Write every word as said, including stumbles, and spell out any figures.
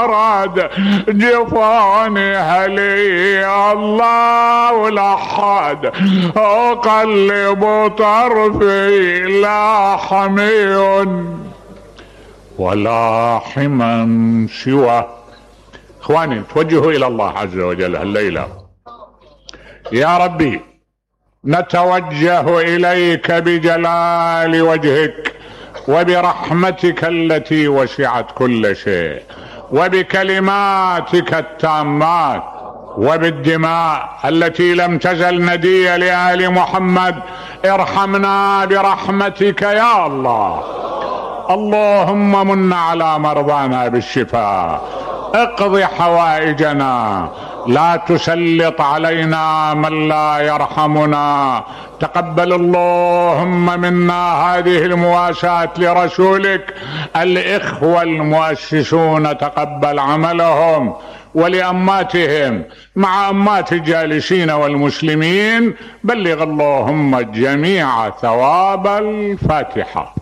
راد جفاني هلي الله لحد اقلب طرفي لا حمي ولا حما سوى. اخواني توجهوا الى الله عز وجل الليلة. يا ربي نتوجه اليك بجلال وجهك وبرحمتك التي وسعت كل شيء وبكلماتك التامات وبالدماء التي لم تزل ندية لآل محمد. ارحمنا برحمتك يا الله. اللهم من على مرضانا بالشفاء، اقض حوائجنا، لا تسلط علينا من لا يرحمنا. تقبل اللهم منا هذه المواساة لرسولك. الإخوة المؤسسون تقبل عملهم، ولأماتهم مع أمات الجالسين والمسلمين بلغ اللهم الجميع ثواب الفاتحة.